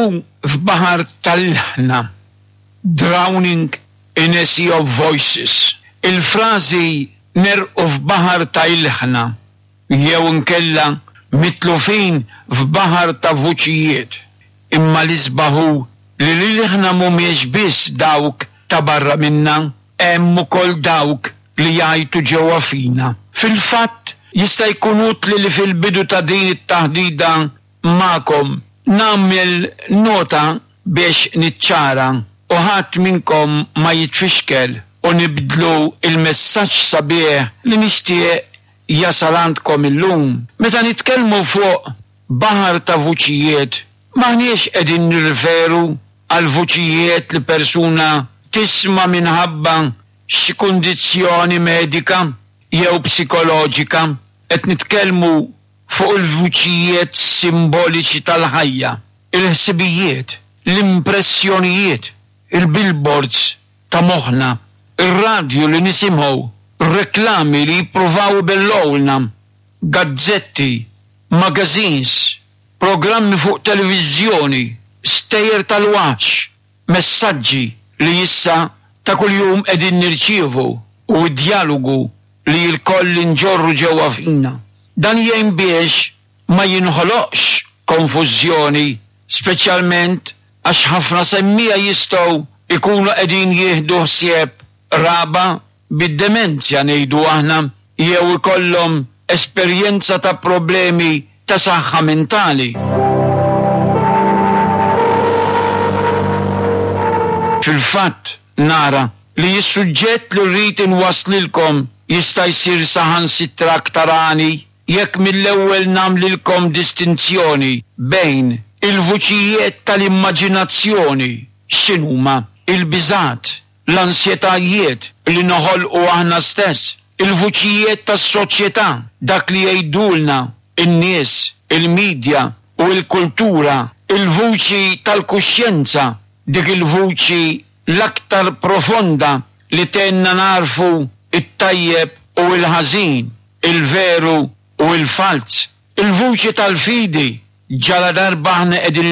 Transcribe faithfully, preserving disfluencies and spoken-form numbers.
Negħrqu f'baħar tal-ilħna. Drowning in a sea of voices. Il-frażi negħrqu f'baħar ta' ilħna jew inkella mitlufin f'baħar ta' vuċijiet. Imma l-isbaħ hu li l-ilħna mhumiex biss dawk ta' barra minna, hemm ukoll dawk li jgħajtu ġewwa fina. Fil-fatt, jista' jkun utli li fil-bidu ta' din it-taħdida magħkom nagħmel nota biex niċċara u ħadd minnkom ma jitfixkel u nibdlu il-messaġġ sabiħ li nixtieq jasal għandkom illum. Meta nitkellmu fuq baħar ta' vuċijiet, m'aħniex qegħdin nirreferu għal vuċijiet li persuna tisma' minħabba xi kundizzjoni medika jew psikoloġika, qed nitkellmu fuq il-vuċijiet simboliċi tal-ħajja, il-ħsibijiet, l-impressjonijiet, il-billboards ta' moħħna, ir-radju li nisimgħu, reklami li jippruvaw ibellgħulna, gazzetti, magazines, programmi fuq televiżjoni, stejjer tal-waħx, messaġġi li issa ta' kuljum qegħdin nirċievu u d-djalogu li lkoll inġorru ġewwa fina. Dan jgħin biex ma jinħoloqx konfużjoni, speċjalment għax ħafna semmiegħa jistgħu ikunu qegħdin jieħdu ħsieb qraba bid-demenzja ngħidu aħna jew ikollhom esperjenza ta' problemi ta' saħħa mentali. Fil-fatt nara li s-suġġett li rrid inwasslilkom jista' jsir saħansitra aktar għani jekk mill-ewwel nagħmlilkom distinzjoni bejn il-vuċijiet tal-immaġinazzjoni, x'inhuma il-biżgħat, l-ansjetajiet li noħolqu aħna stess, il-vuċijiet tas-soċjetà, dak li jgħidulna in-nies, il-medja u l-kultura, il-vuċi tal-kuxjenza, dik il-vuċi l-aktar profonda li tgħinna nagħrfu it-tajjeb u l-ħażin, il-veru u l-falz, il-vuċi tal-fidi, ġala darba aħna qegħdin